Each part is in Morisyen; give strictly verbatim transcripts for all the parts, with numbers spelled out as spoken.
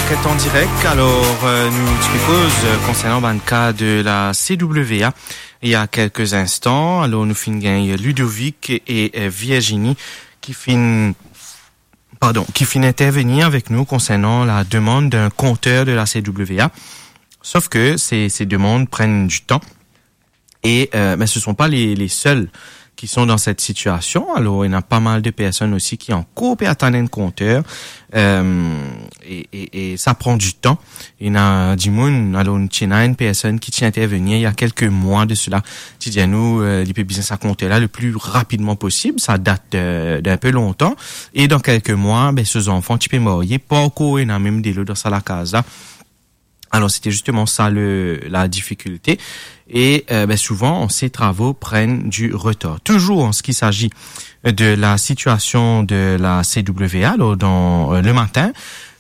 Enquête en direct. Alors, euh, nou ti pe koz, euh, concernant bann cas de la C W A il y a quelques instants. Alors, nou finn gagn Ludovic et, euh, Virginie ki finn, pardon, ki finn intervenir avec nous concernant la demande d'un compteur de la C W A. Sauf que ces, ces demandes prennent du temps. Et, euh, mais ce sont pas les, les seuls qui sont dans cette situation. Alors, il y en a pas mal de personnes aussi qui en cours pe atann enn compteur. Euh, et, et, et ça prend du temps. Il y en a du monde, alors, il y en a une personne qui tient à intervenir il y a quelques mois de cela. Ti dir nou, euh, li pe bizin sa compteur la le plus rapidement possible. Ça date de, d'un peu longtemps. Et dans quelques mois, ben, ses enfants, ti pe marye, pa ankor ena mem delo dan sa lakaz la. Alors, c'était justement ça le, la difficulté. Et, euh, ben, souvent, ces travaux prennent du retard. Toujours en ce qui s'agit de la situation de la C W A, alors dans, euh, le matin,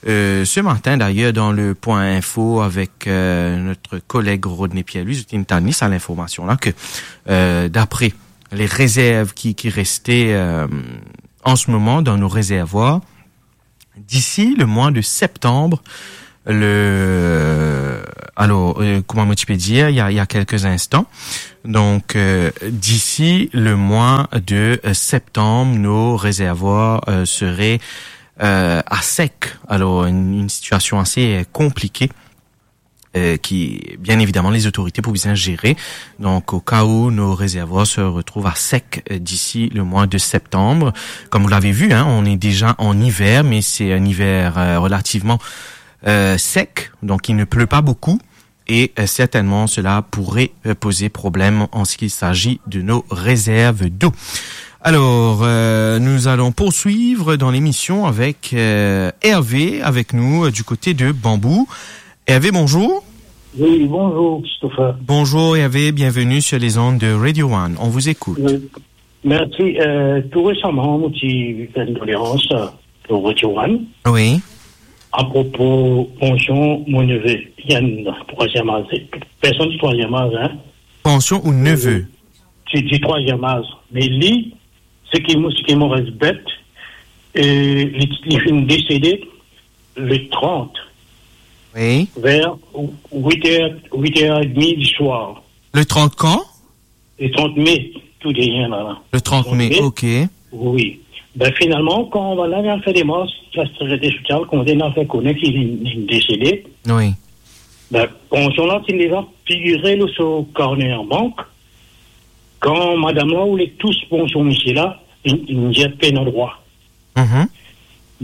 euh, ce matin d'ailleurs, dans le point info avec, euh, notre collègue Rodney Pierre-Louis, zot inn tann li sa linformasion la, ke, euh, d'après les réserves qui, qui restaient, euh, en ce moment dans nos réservoirs, d'ici le mois de septembre, le, alors, euh, kouma mo ti pe dir, il y a, il y a quelques instants. Donc, euh, d'ici le mois de, euh, septembre, nos réservoirs, euh, seraient, euh, à sec. Alors, une, une situation assez, euh, compliquée, euh, qui, bien évidemment, les autorités pou bizin gérer. Donc, au cas où nos réservoirs se retrouvent à sec, euh, d'ici le mois de septembre. Comme vous l'avez vu, hein, on est déjà en hiver, mais c'est un hiver, euh, relativement, euh, sec, donc il ne pleut pas beaucoup. Et, euh, certainement, cela pourrait, euh, poser problème en ce qu'il s'agit de nos réserves d'eau. Alors, euh, nous allons poursuivre dans l'émission avec, euh, Hervé, avec nous, euh, du côté de Bambou. Hervé, bonjour. Oui, bonjour, Christopher. Bonjour, Hervé, bienvenue sur les ondes de Radio One. On vous écoute. Oui. Merci. Euh, tout récemment, mo ti fer enn doléans, euh, pour Radio One. Oui. Apropo pansion mo neve, li enn trwaziem az. Personn di trwaziem az, hein. Pansion ou neve? Euh, ti di trwaziem az. Me li, seki mo, seki mo res bet, euh, li, li finn desede le trant. Oui. Ver wit er, wit er edmi di swar. Le trant kan? Le trant me, tou deryer la, la. Le trant me, ok. Wi. Ben, finalman, kan bann la vinn fer demars, la sekirite sosial, kan bann la fer kone ki li, li desede, wi, ben, pansion la, ti deza figire lor so karne an bank. Kan madam la oule tous pansion misie la, li, li dir pena drwa. Mhm.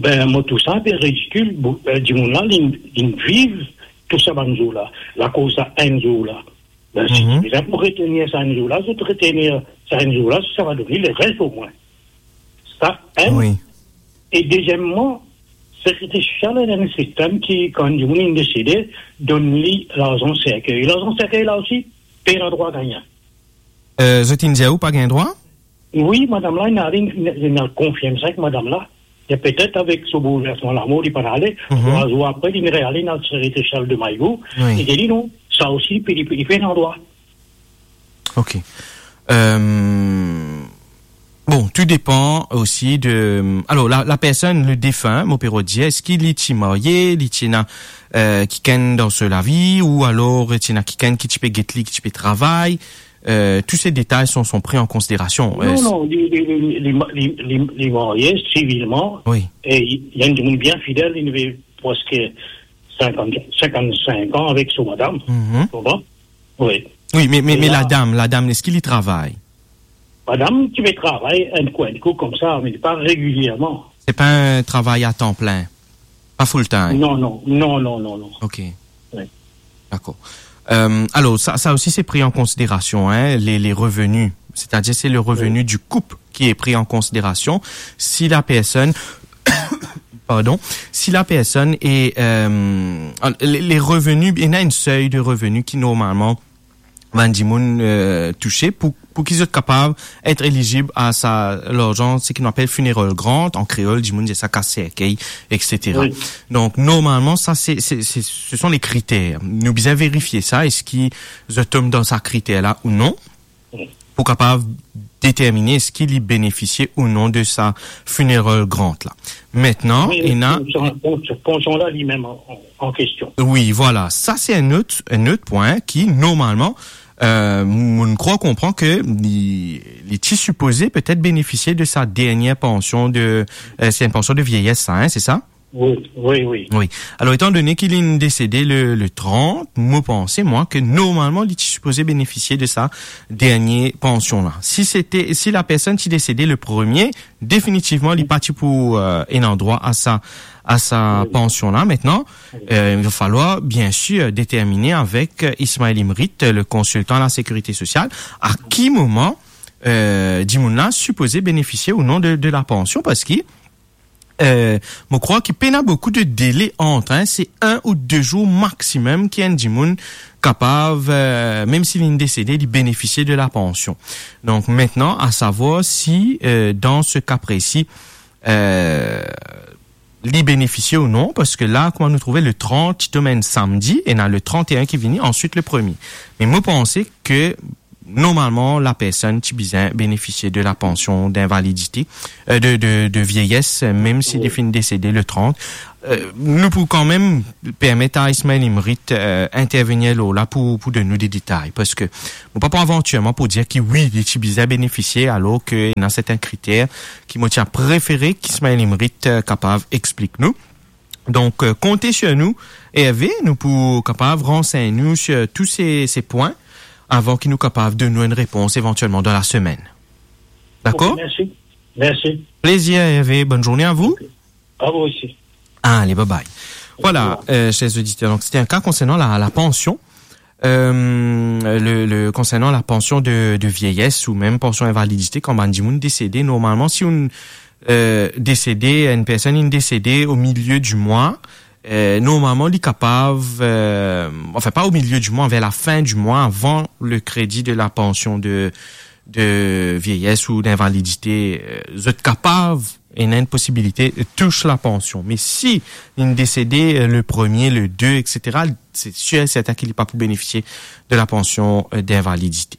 Ben, mo trouv sa inpe ridikil, bo-, eh, dimoun la, li, li viv tou sa bann zour la, lakoz sa enn zour la. Ben, si, mhm, bizin pou retenir sa enn zour la, zot retenir sa enn zour la, sa va donn li leres omwin. Sa, enn. Wi. E dezieman, sekirite sosial ena enn sistem ki, kan dimoun inn desede, donn li larzan serkey. Larzan serkey la osi, pena drwa gagne. Eh, zot inn dir ou pa gagn drwa? Wi, madam la, inn al, inn, inn al konfirm sa ek madam la. E petet avek so boulversman lamor, li pa'nn ale, mhm, trwa zour apre, li reale, inn al sekirite sosial de Mayo, wi, e li dir li non, sa osi, li pe, li pe, li pena drwa. Ok. Euh, bon, tout dépend aussi de, alors, la, la personne, le défunt, mo pe rod dir, eski li ti marye, li ti ena, euh, kikenn dan so lavi, ou alors ti ena kikenn ki ti pe get li, ki ti pe travay, euh, tous ces détails sont, sont pris en considération. Euh, non, non, li, li, li marye sivilman. Wi. E li, li enn dimoun bien fidel, li ena preske sinkant, sinkant-sink an avek so madam. Mhm. Konpran? Wi. Wi, me, me, e me la, ladam, ladam, eski li travay? Madam ti pe travay enn kou, enn kou koumsa, me pa regilierman. Se pa enn travay a tan plin? Pa full time? Non, non, non, non, non, non. Ok. Wi. Dakor. Euh, alors, ça, ça aussi, c'est pris en considération, hein, les, les revenus. C'est-à-dire, c'est le revenu, wi, du couple qui est pris en considération. Si la personne, pardon, si la personne est, euh, les, les revenus, il y a un seuil de revenus qui, normalement, bann dimoun, euh, touse pou, pou ki zot kapav et elizib a sa larzan, seki nou apel funeral grant, an kreol, dimoun dir sa kas serkey, et cetera. Wi. Donk, normalman, sa, se, se, se, ce sont les critères. Nou bizin verifie sa, eski zot tom dan sa kriter la ou non. Wi. pou kapav determine eski li benefisie ou non de sa funeral grant la. Mintnan, wi, ena pansion, pansion la, li mem an, an, an kestion. Wi, vwala. Sa, se enn lot, enn lot pwin ki, normalman, euh, mo krwar konpran ke li, li ti sipoze petet benefisie de sa dernie pansion de, euh, se enn pansion de vieyes, sa, hein, se sa? Wi, wi, wi. Wi. Alor, etan done ki li inn desede le, le trant, mo panse, mwa, ke normalman, li ti sipoze benefisie de sa dernie pansion la. Si sete, si lapersonn ti desede le premie, definitivman, li pa ti pou, euh, ena drwa a sa, a sa pansion la. Mintnan, euh, il va falloir, bien sûr, determine avek, euh, Ismaël Imrit, le konsiltan a la sekirite sosial, a ki moman, euh, dimoun la sipoze benefisie ou non de, de la pansion, parski euh, mo krwar ki pena boukou de dele ant, hein, se enn ou de zour maximum ki enn dimoun kapav, euh, mem si li inn desede, li benefisie de la pansion. Donk, mintnan, a savwar si, euh, dan se ka presi, euh, li benefisie ou non, parski la, kouma nou trouve, le trant ti tom enn samdi, ena le trant-e-enn ki vini, answit le premie. Me mo panse ke normalman, lapersonn ti bizin benefisie de la pansion d'invalidité, euh, de, de, de vieyes, mem si li finn desede le trant. Euh, nou pou kanmem permet a Ismaël Imrit, euh, intervenir lor la pou, pou donn nou de detay, parski mo pa pou avantirman pou dir ki wi, li ti bizin benefisie, alor ke ena sertin kriter ki mo ti a prefere ki Ismaël Imrit, euh, kapav explik nou. Donk, euh, konte sir nou, Hervé, nou pou kapav ransegn nou sir tou se, se pwin avan ki nou kapav donn nou enn repons evantielman dan lasemenn. Dakor? Ok, mersi. Mersi. Plezir, Hervé. Bonne journée à vous. Ok. À vous aussi. Allez, bye bye. Voilà, euh, chers auditeurs, donc c'était un cas concernant la, la pension. Euh, le, le, concernant la pension de, de vieillesse ou mem pension invalidité, kan bann dimoun desede, normalman, si ou, euh, desede, enn personn inn desede au milieu du mois, euh, normalman, li kapav, euh, enfin, pas au milieu du mois, vers la fin du mois, avant le crédit de la pension de, de vieillesse ou d'invalidité, euh, zot kapav, ena enn posibilite, euh, tous la pension. Me si inn desede, euh, le premie, le de, et cetera, c'est sûr et certain ki li pa pou benefisie de la pension, euh, d'invalidité.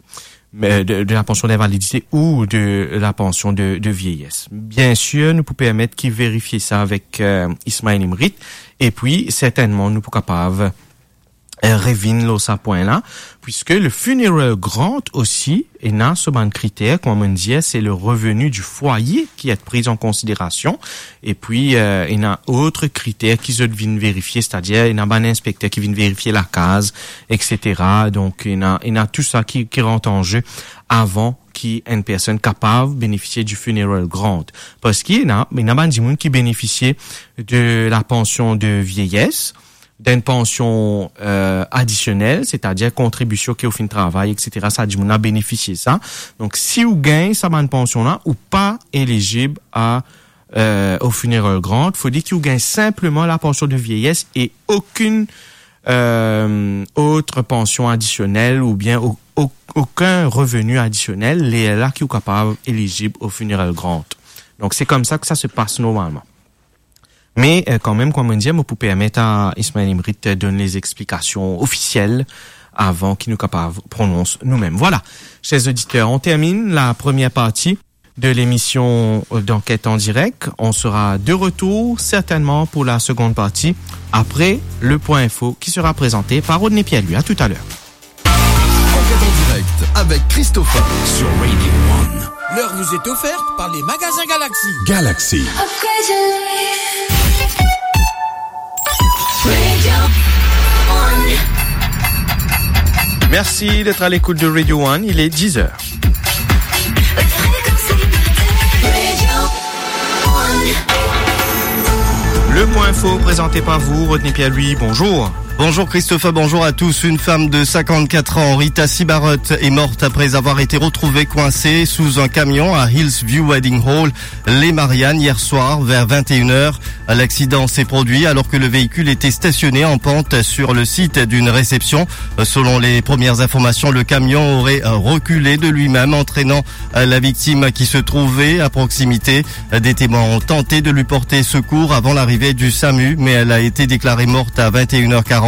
Mais, euh, de, de la pension d'invalidité ou de la pension de, de vieillesse. Bien sûr, nou pou permet ki verifie sa avek, euh, Ismaël Imrit, epi sertennman nou pou kapav, euh, revinn lor sa pwin la, puisque le funeral grant aussi ena so bann kriter, kouma mo dir, c'est le revenu du foyer qui est pris en considération. Epi, euh, ena lot kriter ki zot vinn verifie, c'est-à-dire ena bann inspekter ki vinn verifie lakaz, et cetera. Donk, ena, ena tou sa ki, ki rant an ze avan ki enn personn kapav benefisie du funeral grant. Parski ena, ena bann dimoun ki benefisie de la pension de vieillesse, d'une pension, euh, additionnelle, c'est-à-dire kontribision ki ou finn travay, et cetera. Sa dimoun la benefisie sa. Donk, si ou gagn sa bann pansion la, ou pa elizib a, euh, au funeral grant. Fode ki ou gagn sinpleman la pension de vieillesse e okenn, euh, autre pension additionnelle oubien o-, o-, okenn revenu additionnel, lerla ki ou kapav elizib au funeral grant. Donk, se koumsa ki sa se pas normalman. Me, euh, kanmem, kouma mo dir, mo pou permet a Ismaël Imrit, euh, donn lezexplikasion ofisiel avan ki nou kapav pronons nou mem. Voilà, chers auditeurs, on termine la première partie de l'émission d'enquête en direct. On sera de retour certainement pour la seconde partie après le point info qui sera présenté par Rodney Pierre-Louis. À tout à l'heure. Enquête en direct avec Christopher sur Radio One. L'heure vous est offerte par les magasins Galaxy. Galaxy. Merci d'être à l'écoute de Radio One, il est dix heures. Le point info présenté par vous, Rodney Pierre-Louis, bonjour. Bonjour Christopher, bonjour à tous. Une femme de cinquante-quatre ans, Rita Sibarot, est morte après avoir été retrouvée coincée sous un camion à Hillsview Wedding Hall, les Mariannes, hier soir vers vingt et une heures. L'accident s'est produit alors que le véhicule était stationné en pente sur le site d'une réception. Selon les premières informations, le camion aurait reculé de lui-même, entraînant la victime qui se trouvait à proximité. Des témoins ont tenté de lui porter secours avant l'arrivée du SAMU, mais elle a été déclarée morte à vingt et une heures quarante.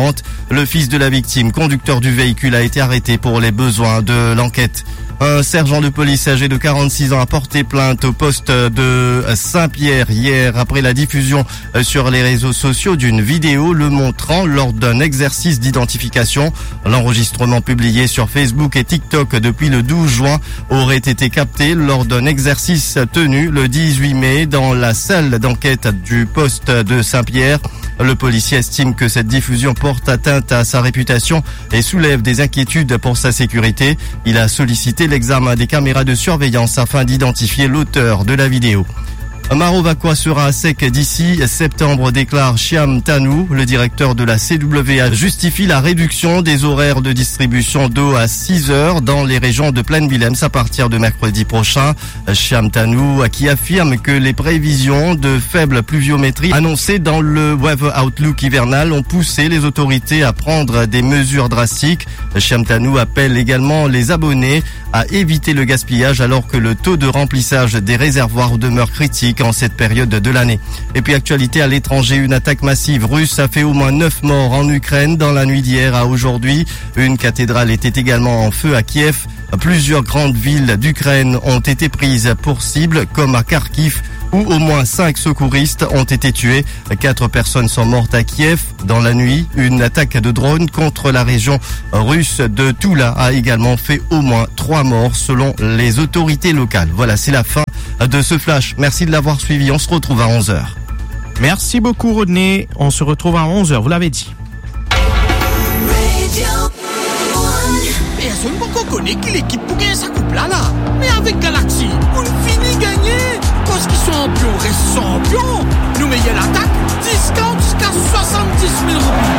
Le fils de la victime, conducteur du véhicule, a été arrêté pour les besoins de l'enquête. Un sergent de police âgé de quarante-six ans a porté plainte au poste de Saint-Pierre hier après la diffusion, euh, sur les réseaux sociaux d'une vidéo le montrant lors d'un exercice d'identification. L'enregistrement publié sur Facebook et TikTok depuis le douze juin aurait été capté lors d'un exercice tenu le dix-huit mai dans la salle d'enquête du poste de Saint-Pierre. Le policier estime que cette diffusion porte atteinte à sa réputation et soulève des inquiétudes pour sa sécurité. Il a sollicité l'examen des caméras de surveillance afin d'identifier l'auteur de la vidéo. Marovaquois sera à sec d'ici septembre, déclare Shyam Tanu. Le directeur de la C W A justifie la réduction des horaires de distribution d'eau à six heures dans les régions de Plaine Willems à partir de mercredi prochain. Shyam Tanu, qui affirme que les prévisions de faible pluviométrie annoncées dans le Weather Outlook hivernal ont poussé les autorités à prendre des mesures drastiques. Shyam Tanu appelle également les abonnés à éviter le gaspillage alors que le taux de remplissage des réservoirs demeure critique en cette période de l'année. Et puis, actualité à l'étranger, une attaque massive russe a fait au moins neuf morts en Ukraine dans la nuit d'hier à aujourd'hui. Une cathédrale était également en feu à Kiev. Plusieurs grandes villes d'Ukraine ont été prises pour cible, comme à Kharkiv, où au moins cinq secouristes ont été tués. Quatre personnes sont mortes à Kiev dans la nuit. Une attaque de drone contre la région russe de Tula a également fait au moins trois morts, selon les autorités locales. Voilà, c'est la fin de ce flash. Merci de l'avoir suivi. On se retrouve à onze heures. Merci beaucoup, Rodney. On se retrouve à onze heures, vous l'avez dit. Personn poko kone ki lekip pou gagn sa koup la la. Me avek Galaxy, ou'nn fini gagne. Parski sanpion res sanpion. Nou meyer latak, diskont ziska swasanndis mil roupi.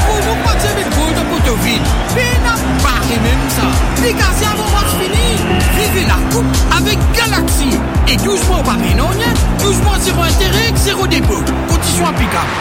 Promo parti avek Golden Potovid. Pena bare mem sa. Degaze avan match fini. Viv lakoup avek Galaxy. E douz mwa ou pa pey nanye, douz mwa zero intere, zero depo. Kondision aplikab.